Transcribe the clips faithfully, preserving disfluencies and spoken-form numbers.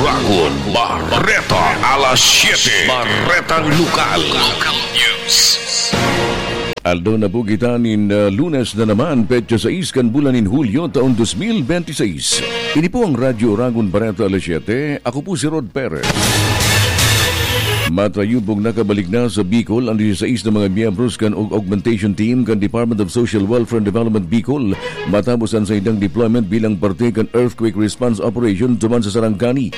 Ragon Bareta, alas siyete. Baretang Lokal. Local News. Aldaw na po kita nin, ah, Lunes na naman, petsa sais kan bulan nin Hulyo, taon dos mil benti sais. Ini po ang Radyo Ragon Bareta, alas siyete. Ako po si Rod Perez. Matayubong nakabalik na sa Bicol ang disisais na mga miyembros kan aug-, augmentation team kan Department of Social Welfare and Development Bicol matapos an saindang deployment bilang parte kan earthquake response operation duman sa Sarangani.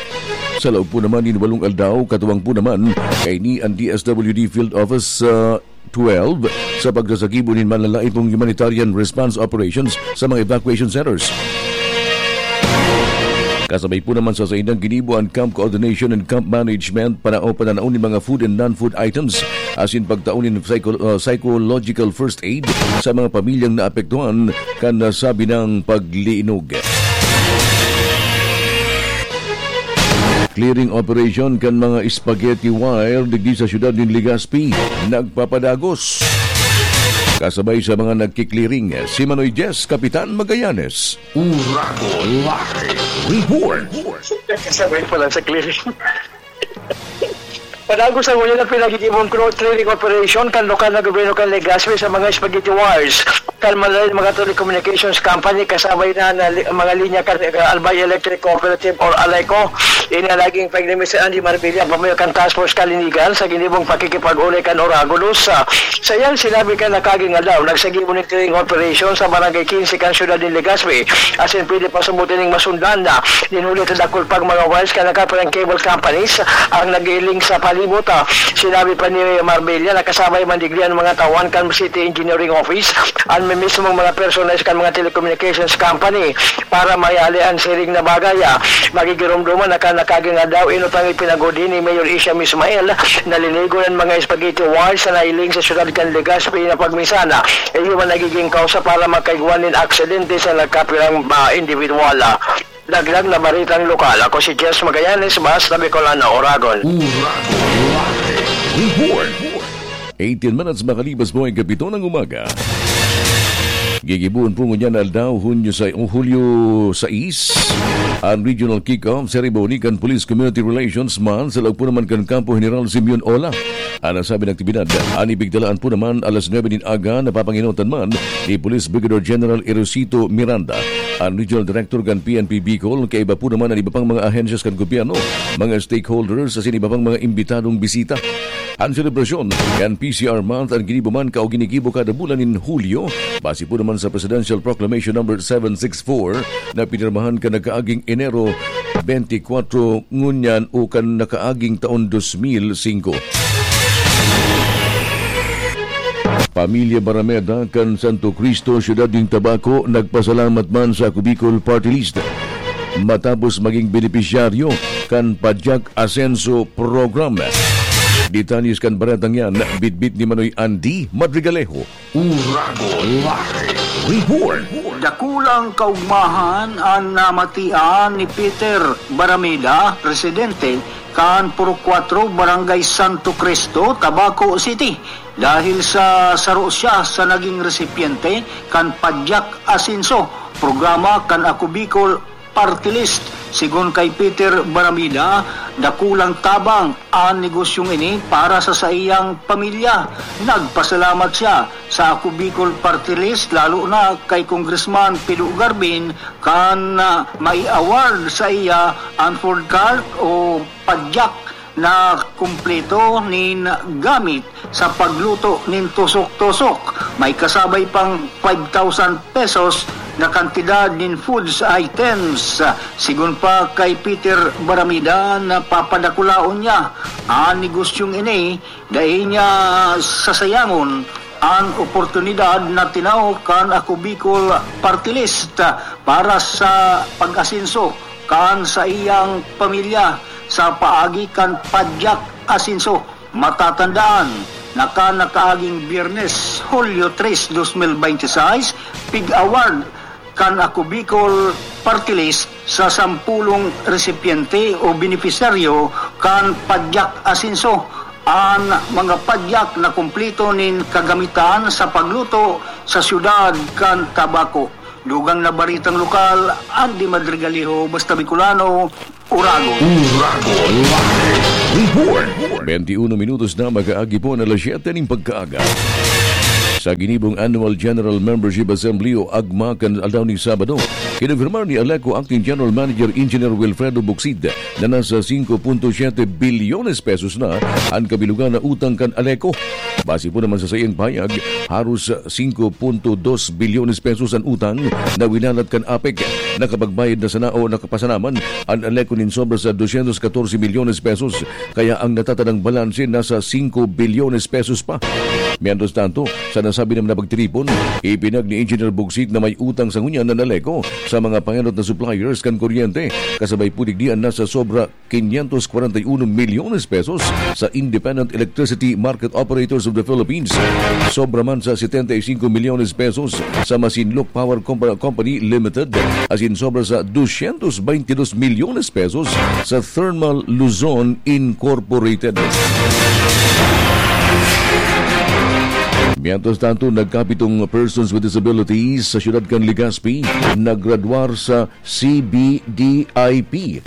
Sa laog po naman nin walong aldaw, katuwang po naman kaini an D S W D Field Office, ah, twelve sa pagsasagibo nin malalaipong humanitarian response operations sa mga evacuation centers. Kasabay po naman sa saindang ginibo an camp coordination and camp management, panao-, pananaw nin mga food and non-food items, asin pagtao nin psycho-, uh, psychological first aid sa mga pamilyang naapektuhan kan nasabi nang paglinog. Clearing operation kan mga spaghetti wire digdi sa siyudad nin Legazpi nagpapadagos. Kasabay sa mga nagki-clearing, si Manoy Jess, Kapitan Magallanes. Uragon Live Report. Kasabay pala sa clearing. Padagos sa ngunyan ang pinagigibong cro-, clearing operation kan lokal na gobyerno kan Legazpi sa mga spaghetti wires kan malain mga telecommunications company, kasabay na, na li-, mga linya kan, uh, Albay Electric Cooperative or Aleco. Ini ang naging pagdemisa ni Andy Marbella, pamayo kan Task Force Kalinigan, sa ginibong pakikipag-uli kan Oragon News. Sa iyang sinabi kan nakaaging aldaw, nagsagibo nin clearing operation sa Barangay quince kan siyudad nin Legazpi, asin pwede pa sabuti ning masundan na nin huli ta dakul pang mga wires kan nakaparang cable companies ang nag-iiling sa palibot. Ah, sinabi pa ni Marbella na kasabay man digdi an mga tawan kan City Engineering Office, an mismong mga personahes kan mga telecommunications company para mahiali an siring na bagay. Ah, magigiromdoman na kan nakaaging aldaw, inot ang ipinagudi ni Mayor Isham Ismail na linigon an mga spaghetti wires na nailing sa siyudad kan Legazpi na pagminsan, ah, iyo man nagiging kausa para makaigwa nin aksidente sa nagkapirang, ah, individual. Ah, dagdag na baretang lokal, ako si Jess Magallanes, Basta Bicolano, Oragon. Uragon Live Report. Eighteen minutes makalipas po ang ikapito ng umaga. Gigibohon po ngunyan na aldaw, Hunyo sa, o Hulyo sais, ang regional kick-off ceremony kan Police Community Relations Month sa laog po naman kan Kampo General Simeon Ola. An nasabing aktibidad, an ipigtalaan po naman alas nuebe nin aga, napapangenotan man ni Police Brigadier General Erosito Miranda, an Regional Director kan P N P Bicol, kaiba po naman an iba pang mga ahensyas kan gobyerno, mga stakeholders, asin iba pang mga imbitadong bisita. An selebrasyon kan P C R Month an ginibo man o ginigibo kada bulan nin Hulyo, base po naman sa Presidential Proclamation Number seven six four na pinirmahan kan nakaaging Enero bentikwatro ngunyan o kan nakaaging taon dos mil singko. Pamilya Barameda kan Santo Cristo, Siyudad nin Tabaco, nagpasalamat man sa Ako Bicol Party List matapos maging benepisyaryo kan Padyak Asenso Program. Detalles kan baretang yan, bitbit ni Manoy Andy Madrigalejo. Uragon Live Report. Dakulang kaugmahan an namatian ni Peter Barameda, presidente kan Purok Kuwatro, Barangay Santo Cristo, Tabaco City, dahil sa saro siya sa naging resipyente kan Padyak Asenso, programa kan Ako Bicol Party List. Sigon kay Peter Baramida, dakulang tabang an negosyong ini para sa saiyang pamilya. Nagpasalamat siya sa Ako Bicol Party List, lalo na kay Congressman Pido Garbin, kan, ah, mai-award sa iya an food cart o padyak na kumpleto nin gamit sa pagluto nin tusok-tusok. May kasabay pang five thousand pesos na kantidad nin foods items. Sigon pa kay Peter Baramida, na papadakulaon niya an negosyong ini, dai niya sasayangon an oportunidad na tinao kan Ako Bicol Party List para sa pag-asenso kan saiyang pamilya sa paagi kan Padyak Asenso. Matatandaan na kan nakaaging Biyernes, Hulyo tres, dos mil benti sais, pig-award kan Ako Bicol Party List sa sampulong resipyente o benepisyaryo kan Padyak Asenso. An mga padyak na kumpleto nin kagamitan sa pagluto sa siyudad kan Tabaco. Dugang na baretang lokal, Andy Madrigaliho, Basta Bicolano, Uragon. Uragon Live Report. Twenty-uno minutos na mag-aagi po na alas siyete ning pagkaaga. Sa ginibong Annual General Membership Assembly o AGMA kan aldaw ning Sabado, kinumpirmar ni Aleco Acting General Manager Engineer Wilfredo Bucsid na nasa singko punto siyete bilyones pesos na an kabilugan na utang kan Aleco. Base po naman sa saiyang pahayag, haros singko punto dos bilyones pesos an utang na winalat kan APEC. Nakapagbayad na sana o nakapasanaman an Aleco nin sobra sa dosyentos katorse milyones pesos, kaya ang natatanang balanse nasa singko bilyones pesos pa. Mientras tanto, sa nasabi naman na pagtiripon, ipinag ni Engineer Bugsit na may utang sa ngunyan na Aleco sa mga pangenot na suppliers kan kuryente, kasabay po digdi an nasa sobra quinientos cuarenta y uno milyones pesos sa Independent Electricity Market Operators of the Philippines. Sobra man sa setenta y cinco milyones pesos sa Masinloc Power Compa-, Company Limited, asin sobra sa dosyentos veintidos milyones pesos sa Thermal Luzon Incorporated. Mientras tanto, nagkapitong persons with disabilities sa siyudad kan Legazpi naggraduar sa C B D I P.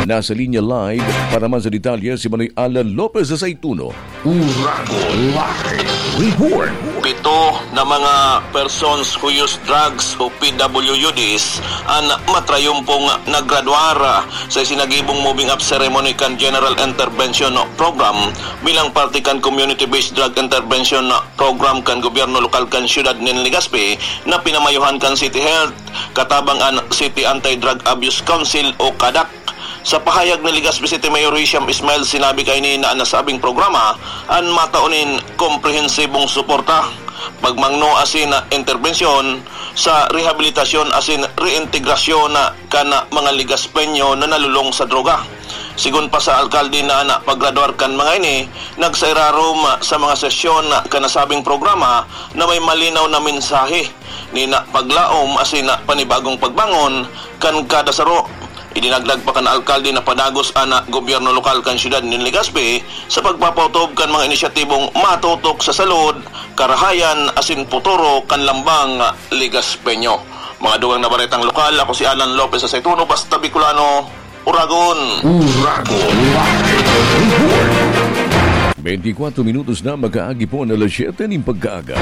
Nasa linya live para man sa detalye si Manoy Alan Lopez sa Saituno. Uragon Live Report. Pito na mga persons who use drugs o P W U Ds an matrayumpong naggraduar sa isinagibong moving up ceremony kan General Intervention Program bilang parte kan Community-Based Drug Intervention Program kan gobyerno lokal kan siyudad nin Legazpi na pinamayuhan kan City Health katabang an City Anti-Drug Abuse Council o CADAC. Sa pahayag ni Legazpi City Mayor Hisham Ismail, sinabi kaini na an nasabing programa an matao nin komprehensibong suporta, pagmangno asin interbensyon sa rehabilitasyon asin reintegrasyon kan mga Legazpeño na nalulong sa droga. Sigon pa sa alkalde na an paggraduar kan mga ini, nagsairarom sa mga sesyon kan nasabing programa na may malinaw na mensahe nin paglaom asin panibagong pagbangon kan kada saro. Idinagdag pa kan alkalde na padagos an gobyerno lokal kan siyudad nin Legazpi sa pagpapaotob kan mga inisyatibong matutok sa salud, karahayan asin puturo kan lambang Legazpeño. Mga dugang na baretang lokal, ako si Alan Lopez sa Saituno, Basta Bicolano, Uragon. Uragon Live Report. Bentikwatro minutos na mag-aagi po na alas siyete nin pagkaaga.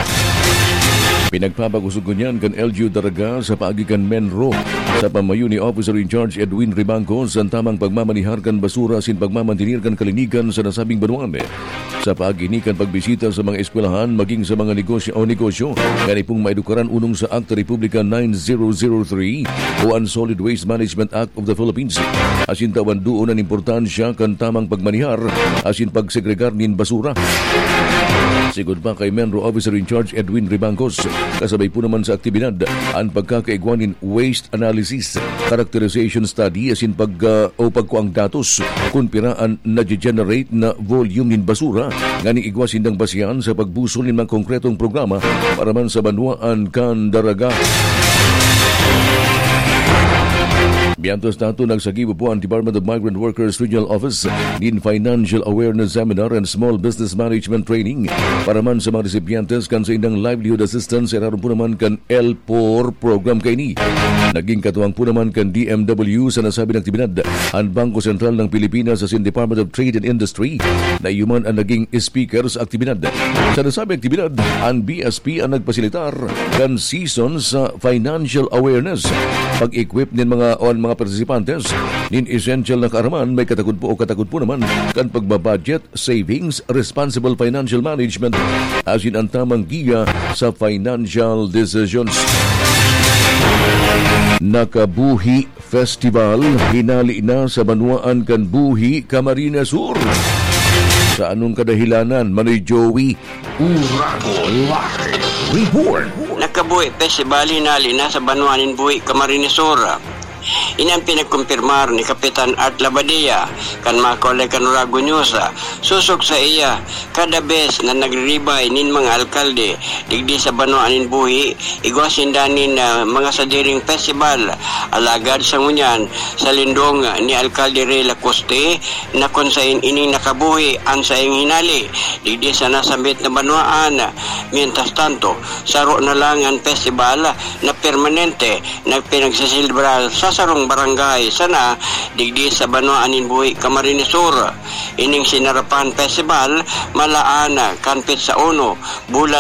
Pinagpapakosog ngunyan kan L G U Daraga sa paagi kan MENRO. Sa pamayo ni Officer in Charge Edwin Ribangcos an tamang pagmamanihar kan basura asin pagmamantenir kan kalinigan sa nasabing banwaan. Sa paagi ni kan pagbisita sa mga eskwelahan, maging sa mga negosyo o negosyo, ngani pong maedukaran unong sa Akta Republika nine zero zero three o an Solid Waste Management Act of the Philippines. Asin tawan duon an importansya kan tamang pagmanihar asin pagsegregar nin basura. Sigon pa kay MENRO Officer in Charge Edwin Ribangcos, kasabay po naman sa aktibidad an pagkakaigwa nin waste analysis, characterization study asin pag, ah, o pagkuang datos kun pira an nage-generate na volume nin basura nganing igwa sindang basehan sa pagbusol nin mga konkretong programa para man sa banwaan kan Daraga. Mientras tanto, nagsagibo po ang Department of Migrant Workers Regional Office nin Financial Awareness Seminar and Small Business Management Training para man sa mga recipientes kan saindang livelihood assistance, irarom po naman kan L four program kaini. Naging katuwang po naman kan D M W sa nasabing aktibidad an Bangko Sentral ng Pilipinas asin Department of Trade and Industry na iyo man ang naging speaker sa aktibidad. Sa nasabing aktibidad, an B S P ang nagpasilitar kan session sa financial awareness, pag-equip nin mga o an mga partisipantes nin essential na kaaraman, may katakod po o katakod po naman kan pagbabudget, savings, responsible financial management, asin ang tamang giya sa financial decisions. Nakabuhi Festival, hinali na sa banwaan kan Buhi, Camarines Sur. Sa anong kadahilanan, Manoy Joey? Uragon Live Report. Nakabuhi Festival, hinali na sa banwaan nin Buhi, Camarines Sur. Ini ang pinagkumpirmar ni Kapitan Art Labadia kan Macaulay Canurago News. Sosog saiya, kada bes na nagriribay nin mga alkalde digdi sa banwaan nin buhi, igwa sinda nin, ah, mga sadiring festival. Alagad sa ngunyan, sa lindong ni Alkalde Rey Lacoste, na kun sain ining nakabuhi an saing hinali digdi sa nasambit na banwaan. Mientras tanto, saro na lang an festival na permanente na pinagseselebrar sa sarong barangay sana digdi sa banwaan nin buhi, Camarines Sur. Ining Sinarapan Festival malaan kan petsa uno, bulan